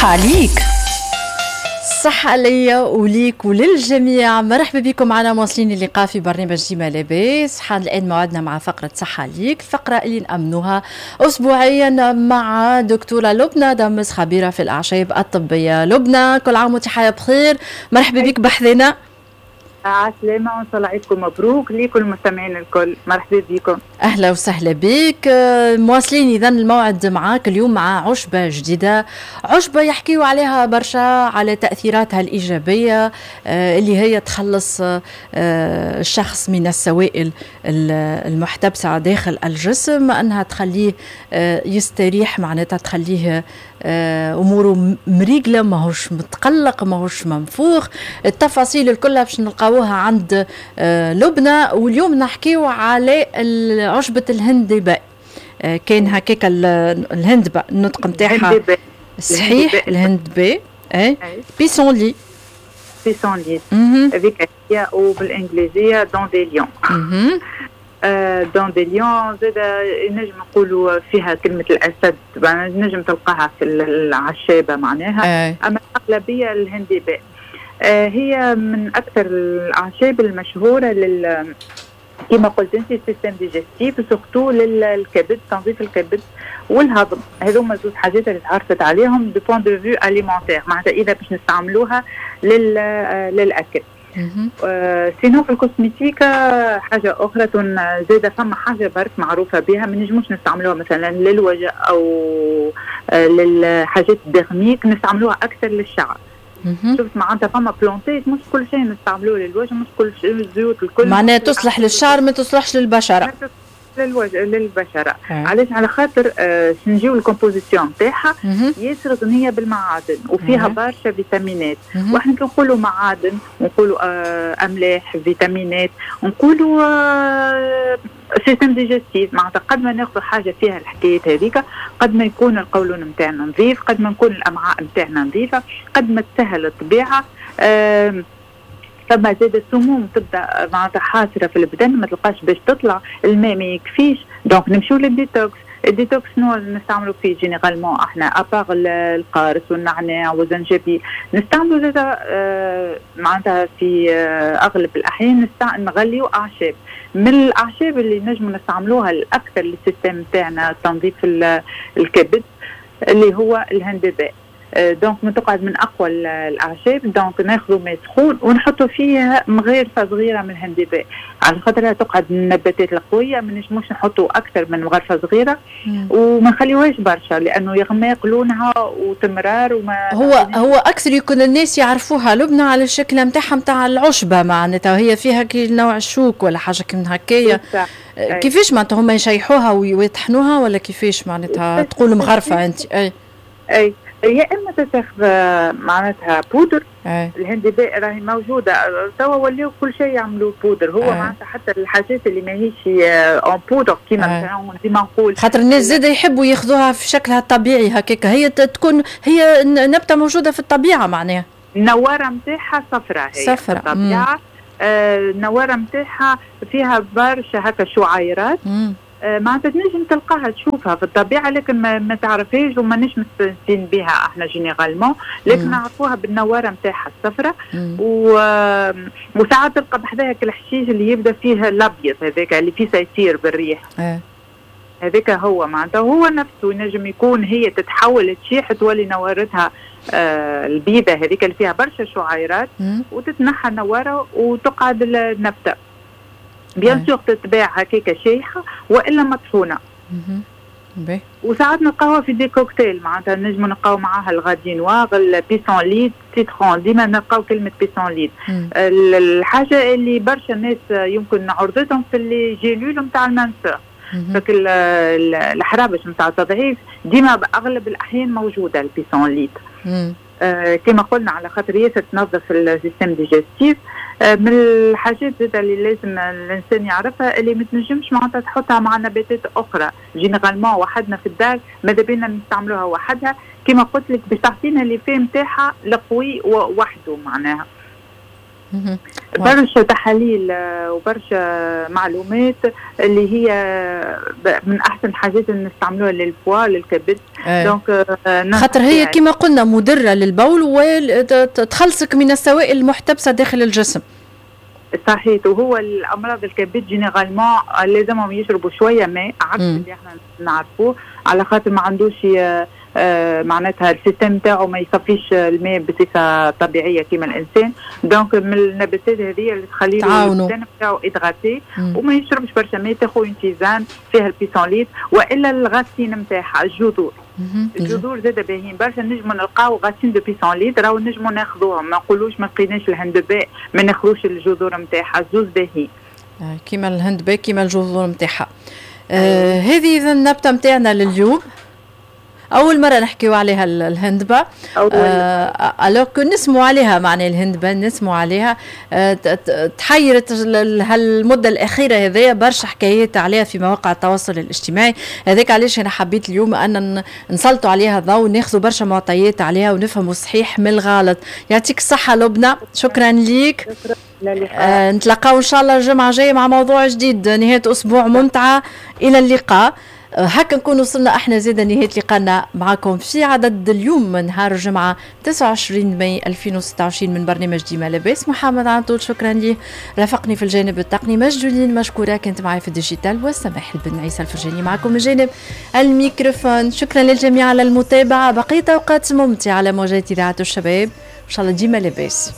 صحة ليك. صحة ليا وليك وللجميع. مرحبا بكم معنا مواصلين اللقاء في برنامج ديما لاباس. حان الآن موعدنا مع فقرة صحة ليك، الفقرة اللي نأمنوها أسبوعيا مع دكتورة لبنى دمس، خبيرة في الأعشاب الطبية. لبنى، كل عام وانت حياة بخير، مرحبا بك بحذنا. عسلامة، وإن شاء الله عيدكم مبروك ليكم المستمعين الكل، مرحبا بكم. أهلا وسهلا بك. مواصلين إذا الموعد معاك اليوم مع عشبة جديدة، عشبة يحكيوا عليها برشا، على تأثيراتها الإيجابية اللي هي تخلص الشخص من السوائل المحتبسة داخل الجسم، أنها تخليه يستريح، معناتها تخليه أموره مريقلة، ماهوش متقلق، ماهوش منفوخ. التفاصيل الكلها باش نلقاوها عند لبنى. واليوم نحكيو على عشبة الهندباء. كان هكاك الهندباء النطق نتاعها صحيح؟ الهندباء، اي pissenlit. pissenlit هذيك هي، وبالانجليزيه dandelion. dandelion زاد نجم نقولوا فيها كلمة الأسد، نجم تلقاها في العشابة معناها. أما الأغلبية الهندباء. هي من أكثر الأعشاب المشهورة لل كما قلت انت système digestif، surtout للكبد، تنظيف الكبد والهضم. هذوما زوج حاجات اللي تعرفت عليهم du point de vue alimentaire، معناتها اذا باش نستعملوها للاكل. Sinon في ال cosmétique حاجة اخرى زاده، فما حاجة برك معروفة بها، ما نجموش نستعملوها مثلا للوجه او للحاجات ال dermiques، نستعملوها اكثر للشعر. شفت معناتها فما plante ات مش كل شيء نستعملوه للوجه، مش كل شيء الزيوت الكل. معناها تصلح للشعر ما تصلحش للبشره. للوجه للبشره. علاش؟ على خاطر نجيو ال composition نتاعها ياسر غنية بالمعادن وفيها برشا فيتامينات. واحنا كي نقولوا معادن ونقولوا املاح، فيتامينات، نقولوا système digestif، معناتها قد ما ناخذ حاجة فيها الحكايات هذيك قد ما يكون القولون نتاعنا نظيف، قد ما نكون الامعاء نتاعنا نظيفه، قد ما تسهل الطبيعه. فما زاد السموم تبدا معناتها حاصره في البدن، ما تلقاش باش تطلع، الماء ما يكفيش، donc نمشيو لل détox. ال détox شنو نستعملوا فيه généralement احنا؟ à part القارص والنعناع والزنجبيل، نستعملوا زاد معناتها في اغلب الاحيان نغليو اعشاب. من الاعشاب اللي نجم نستعملوها الاكثر لل système نتاعنا تنظيف الكبد اللي هو الهندباء. donc من تقعد من اقوى الاعشاب. donc ناخذوا ماء سخون ونحطوا فيها مغيرفه صغيرة من الهندباء، على خاطرها تقعد من النباتات القويه، ما نجموش نحطوا اكثر من مغرفه صغيرة وما نخليوهاش برشا لانه يغمق لونها وتمرار وما هو اكثر يكون الناس يعرفوها لبنى على الشكل نتاعها نتاع العشبه، معناتها هي فيها كي نوع الشوك ولا حاجة كي هكايا. كيفاش معناتها هما يشيحوها ويطحنوها ولا كيفاش معناتها؟ تقول مغرفه انت، اي. اي، يا اما تاخذ معناتها بودر. الهندباء راهي موجودة توا، ولاو كل شيء يعملوا بودر هو. معناتها حتى الحاجات اللي ماهيش en poudre كيما مثلا ديما نقول خاطر الناس زاد يحبوا ياخذوها في شكلها الطبيعي هكاك، هي تكون هي نبته موجودة في الطبيعة معناها. النواره نتاعها صفراء هي. صفراء. الطبيعه. النواره نتاعها فيها برشا هكا شعيرات. معناتها تنجم تلقاها تشوفها في الطبيعه، لكن ما تعرفهاش وما نش مستانسين بها احنا généralement، لكن نعرفوها بالنواره نتاعها الصفراء. وساعات تلقى بحذاها الحشيش اللي يبدا فيه الابيض هذاك اللي فيه يطير بالريح. هذاك هو معناتها هو نفسه ينجم يكون هي تتحول تشيح تولي نوارتها البيضة هذيك اللي فيها برشا شعيرات وتتنحى النواره وتقعد النبته. bien sûr تتباع هكاك شايحه والا مطحونه. وساعات نلقاوها في des cocktails، معناتها نجمو نلقاو معاها ال radis noir، ال pissenlit، citron، ديما نلقاو كلمة pissenlit. الحاجة اللي برشا ناس يمكن عرضتهم في les gélules نتاع ال minceur، فك الحرابش نتاع التضعيف، ديما باغلب الاحيان موجودة ال pissenlit. كما قلنا على خاطر ياسر تنظف ال système digestif. من الحاجات زاد اللي لازم الانسان يعرفها اللي ما تنجمش معناتها تحطها مع نباتات اخرى. généralement وحدنا في الدار ماذا بينا نستعملوها وحدها، كما قلت لك باش تعطينا l'effet نتاعها القوي وحده معناها. برشا تحاليل وبرشا معلومات اللي هي من احسن الحاجات اللي نستعملوها لل foie، للكبد. donc خاطر هي كما قلنا مدره للبول وتخلصك من السوائل المحتبسه داخل الجسم. صحيح، وهو الامراض الكبد généralement لازمهم يشربوا شوية ماء عكس اللي احنا نعرفوه، على خاطر ما عندوش معناتها ال système تاعو ما يصفيش الماء بصفة طبيعية كما الانسان. donc من النباتات هذه اللي تخلي له ال système تاعو hydraté وما يشربش برشا ماء، تاخذ une tisane فيها ال pissenlit والا ال racine نتاعها، الجذور. الجذور زاد باهيين برشا، نجموا نلقاو racines de pissenlit راهو نجموا ناخذوهم، ما نقولوش ما لقيناش الهندباء ما ناخذوش الجذور نتاعها، زوز باهيين. كيما الهندباء كيما الجذور نتاعها. هذه اذا النبتة نتاعنا لليوم، اول مرة نحكيو عليها الهندبه، alors que نسمعوا عليها، معناها الهندبه نسمعوا عليها، تحيرت هالمده الاخيرة هذيا برشا حكايات عليها في مواقع التواصل الاجتماعي. هذاك علاش انا حبيت اليوم ان نسلطوا عليها الضوء وناخذوا برشا معطيات عليها ونفهموا الصحيح من الغلط. يعطيك الصحة لبنى، شكرا ليك. نتلاقاو ان شاء الله الجمعة الجاية مع موضوع جديد. نهاية اسبوع ممتعه، الى اللقاء. هكا نكون وصلنا احنا زيدا نهاية لقانا معكم في عدد اليوم من نهار الجمعة 29 ماي 2026 من برنامج ديما لاباس. محمد عنطول شكرا ليه رافقني في الجانب التقني، مجدولين مشكورة كانت معي في ال digital، والسماح بن عيسى الفرجاني معكم من جانب الميكروفون. شكرا للجميع على المتابعة، بقية أوقات ممتعة على موجات إذاعة الشباب، إن شاء الله ديما لاباس.